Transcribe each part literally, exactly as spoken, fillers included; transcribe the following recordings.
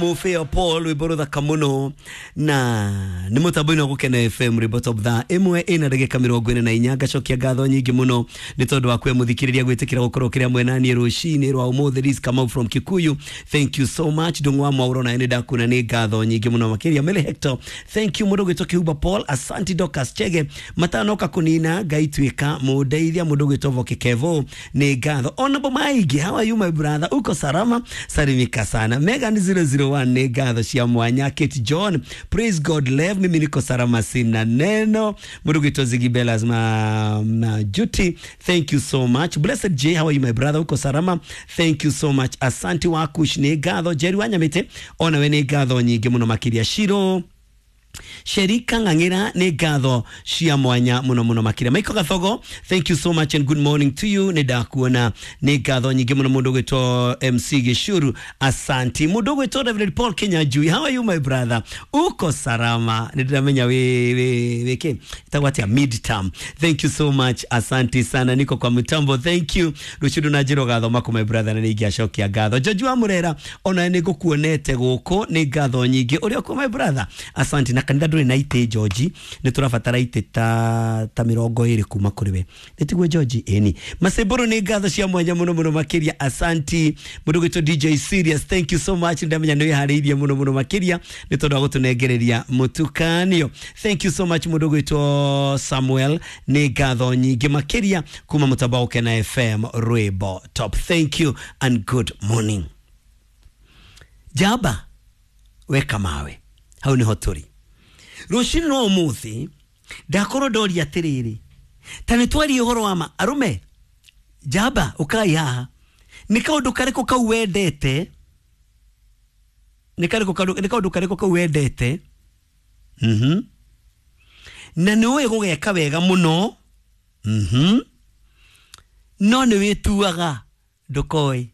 Mufeo Paul rwimbo ruthaka muno na ni mutambo-ini wa Gukena F M rwimbo top thaa imwe ina ndagika mirongo ina na inya. Ngacokia ngatho nyingi muno ni tondu wa kwe muthikiriria gwitikira gukorwo kiria mwena nie rucini rwa umuthi. Liz Kamau from Kikuyu, thank you so much. Ndung'u wa Mwauro na ni ndakuna ni ngatho nyingi muno makiria. Mele Hector, thank you mundu gwitwo Kihuba Paul, asanti. Dorcas Chege matanoka kunina ngai twika mundeithia. Mundu gwitwo Voki Kevo ni ngatho. Honorable Maigi, how are you my brother? Uko salama? Salimika sana. Megan zero zero one ni ngatho cia mwanya. Kate John, praise God love, mimi niko salama sina neno. Mundu gwitwo Ziggy Bellas ma, ma Juti, thank you so much. Blessed J, how are you my brother? Uko salama? Thank you so much. Asanti wakush ni ngatho. Jerry Wanyamite ona we ni ngatho nyingi muno makiria. Shiro Sherika Ng'ang'ira ni ngatho cia mwanya muno muno makiria. Michael Gathogo, thank you so much and good morning to you. Ni ndakuona ni ngatho nyingi muno. Mundu gwitwo M C Gishuru, asanti. Mundu gwitwo Reverend Paul Kinyanjui, how are you my brother? Uko salama? Ni ndiramenya we we we ke itagwo atia mid term. Thank you so much, asanti sana. Niko kwa mtambo, thank you. Rucindu na njiro gathoma ku my brother na ningiacokia ngatho. George wa Murera ona ni ngukuonete guku ni ngatho nyingi uria ku my brother, asanti. Na kanitha nduri na ite George, ni turabatara ite ta ta mirongo iri kuma kuri we nitiguo George eni maseburu ni ngatho cia mwanya muno muno makiria, asanti. Mundu gwitwo D J Serious, thank you so much. Ndamenya ni wihariirie muno muno makiria ni tondu wa gutunengereria mutukanio. Thank you so much. Mundu gwitwo Samuel ni ngatho nyingi makiria kuma mutambo wa Gukena F M rwimbo top. Thank you and good morning. Jaba weka mawe hau niho turi rucini rwa umuthi. Ndakorwo ndoria atiriri ta ni twarie uhoro wa ma arume jaba ukai haha ni kaundu kariku kau wendete ni kariku kaundu ni kaundu kariku kau wendete mhm na ni uĩ gũgeka wega muno mhm no ni wituaga ndũkoĩ.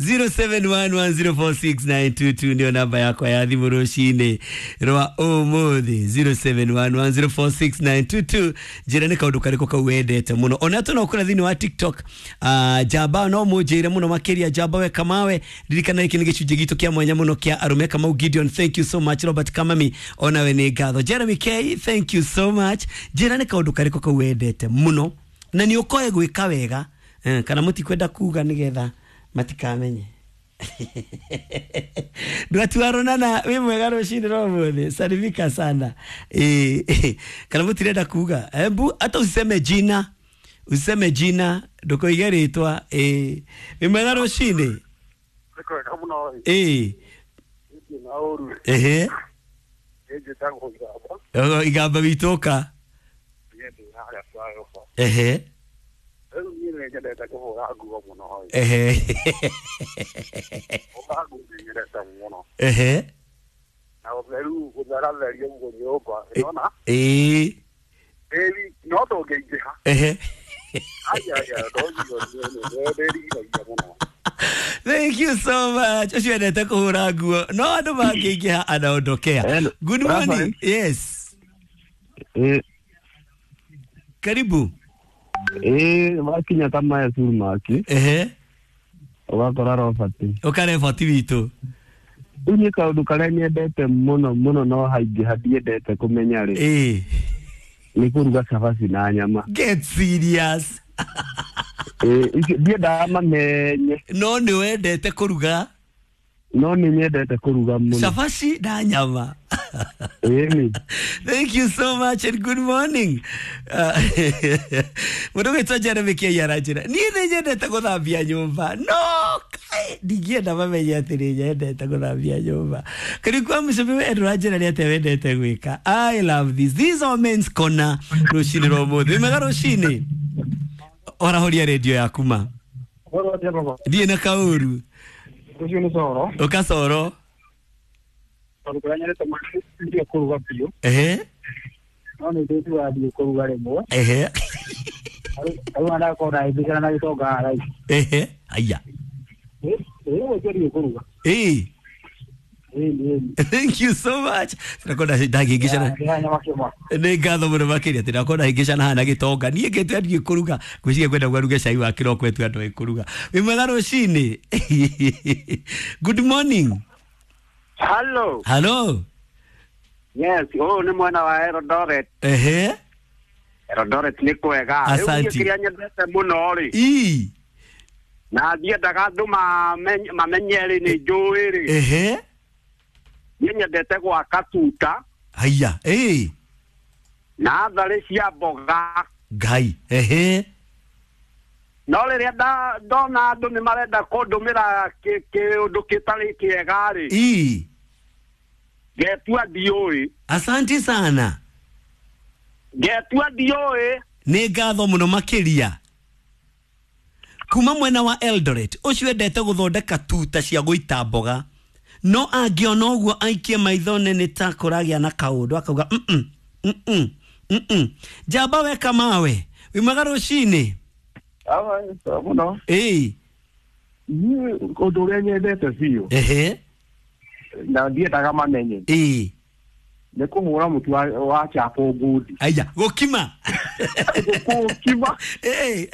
Zero seven one one zero four six nine two two ndio namba yakwa ya thimu rucini rwa umuthi. Zero seven one one zero four six nine two two. Njira ni kaundu kariku kau wendete muno. Ona tu no kura thiini wa TikTok, uh, jaba no munjire muno makiria. Jaba we kamawe ririkana iki ni gicunjĩ gitu kia mwanya muno kia arume. Kamau Gideon, thank you so much. Robert Kamami ona we ni ngatho. Jeremy K, thank you so much. Njira ni kaundu kariku kau wendete muno na ni ukoe gwika wega eh, kana mutikwenda kuga nigetha matikamenye. Ndwatwaronana wi mwega rucini rwa umuthi, salimika sana eh, kana mutirenda kuga embu hata useme jina useme jina ndukoige ritwa eh, wi mwega rucini eh ehe igamba witoka ehe ehe ehe na utheru gutheratheria uguo nyumba ĩrona ĩĩ ĩri no ndũngĩingĩha ehe aya aya ndũngĩrigiragia mũno. Thank you so much. Ucio endete kũhũra nguo no andũ mangĩingĩha anaondokea. Good morning. Yes. Eh, karibu. Eh, makinya ta maya curu maki. Ehe. Ũgakora Robert. Ũkare witũ. Rĩu niĩ kaũndũ karĩa nyendete mũno mũno no haingĩha ndiendete kũmenya rĩ. Eh. Nĩ kũruga cabaci na nyama. Get serious. Eh, ndiendaga mamenye. No nĩ wendete kũruga? No nĩ nyendete kũruga mũno. Cabaci na nyama. Thank you so much and good morning. Mundu gwitwo Jeremy K aranjĩra niĩ nĩ nyendete gũthambia nyũmba no kai ndingĩenda mamenye atĩ nĩ nyendete gũthambia nyũmba. Karibu kwa mũcemi we ndũranjĩra nĩ atĩa wendete gwĩka. I love this. This is our men's corner rũcinĩ rwa ũmũthĩ. Wĩ mwega rũcinĩ? Orahoria redio yaku ma. Ndiĩ na kaũru. Rũciũ nĩ coro. Ũka coro. Tondũ kũrĩa nyendete ndiĩ kũruga biũ. Ehe. No nĩ ndĩtuaga ndiĩ kũruga rĩmwe. Ehe. Rĩu ndakorwo ndahĩtũkĩra na gĩtonga haha Ehe. Aya. Ĩĩ, rĩmwe ndiĩ kũruga. Ĩĩ. Ĩni ĩni. Thank you so much. Tirakorwo ndahĩngĩcana. Nĩ ngatho mũno makĩria. Tirakorwo ndahĩngĩcana haha na gĩtonga. Niĩ ngĩte ndiĩ kũruga, ngwĩciria kwenda gwaruge cai wa kĩroko etu andũ aĩ kũruga. Wĩ mwega rũcinĩ. Good morning. Hello. Hello. Yes, ũyũ nĩ mwena wa Eldoret. Ehe. Eldoret nĩ kwega. Rĩu niĩ Asanti. kĩrĩa nyendete mũno rĩ, Ii. na ndiendaga andũ mamenye mamenye rĩ, nĩ njũĩ rĩ, Ehe. niĩ nyendete gwaka tuta Haiya. Ĩĩ. na tharĩ cia mboga. Ngai. Ehe. No rĩrĩa nda- ndona andũ nĩ marenda kũndũmĩra kĩ- kĩũndũ kĩtarĩ kĩega rĩ, Ii. ngetua ndiũĩ. Asanti sana. Ngetua ndiũĩ. Nĩ ngatho mũno makĩria. Kuma mwena wa Eldoret, ũcio endete gũthondeka tuta cia gũita mboga, no angĩona ũguo aikie maitho nĩ ta kũragĩa na kaũndũ akauga mm mm mm. Njamba weka mawe. Wĩ mwega rũcinĩ. Mũno. Ĩĩ. Niĩ ũndũ ũrĩa nyendete biũ Ehe. na ndiendaga mamenye Ĩĩ. nĩ kũhũra mũtu wa, wa chapo ngundi. Aya gũkima. Kũkima. Ĩĩ.